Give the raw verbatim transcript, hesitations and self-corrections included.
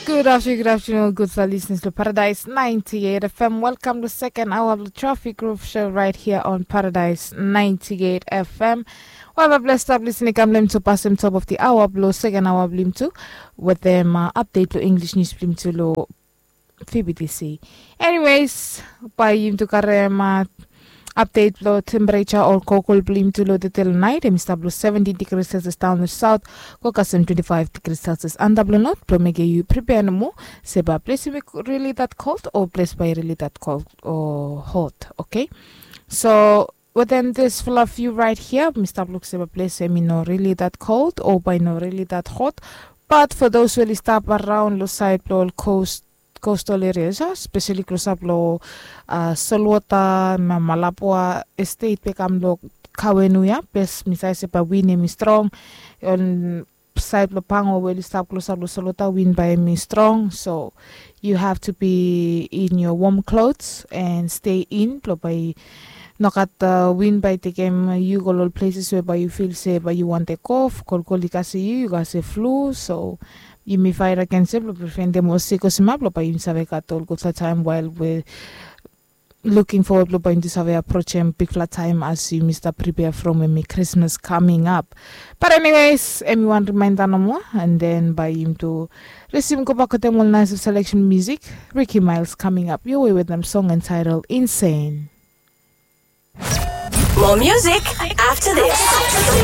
Good afternoon, good afternoon, gudfala listeners lo Paradise ninety-eight F M. Welcome to second hour of the Traffic Roof Show right here on Paradise ninety-eight F M. Wala bless stap listening kam blem to pass dem top of the hour blo second hour blem to with them uh, update lo English news blem to lo P B T C. Anyways, bae yumi tu karem uh, update blo temperature o kokol blo yumi tu lo detel nait, em i stap lo seventeen degrees Celsius down the south, go kasem twenty-five degrees Celsius anda blo north, blo mekem yu prepare nomo se bae ples yumi really that cold o ples bae really that cold o hot, okay? So within this fluff view right here, mi stap luk se bae ples em i no really that cold o bae no really that hot. But for those we oli stap around lo side blo ol coast coastal areas, uh, especially close up lo uh, Solwata, Malapua Estate, bekam lo Kawenu ya, bes mi save se bae win em i strong. On side lo Pango we oli stap close up lo Solwata, win bae em i strong. So you have to be in your warm clothes and stay in, blo bae nogat uh, win bae tekem yu go lo ol places we bae yu feel se bae yu wan tek off, kolkol i kasem yu, yu kasem flu. So yumi fight against em blo prevent em ol sik o sima blo bae yumi save gat ol gudfala taem while we looking forward blo bae yumi tu save approach em bigfala taem as yumi stap prepare from em i Christmas coming up. But anyways, em i wan reminder nomo, and then bae yumi tu resume go back wetem ol nice selection music. Ricky Miles coming up your way with them song entitled Insane. More music after this.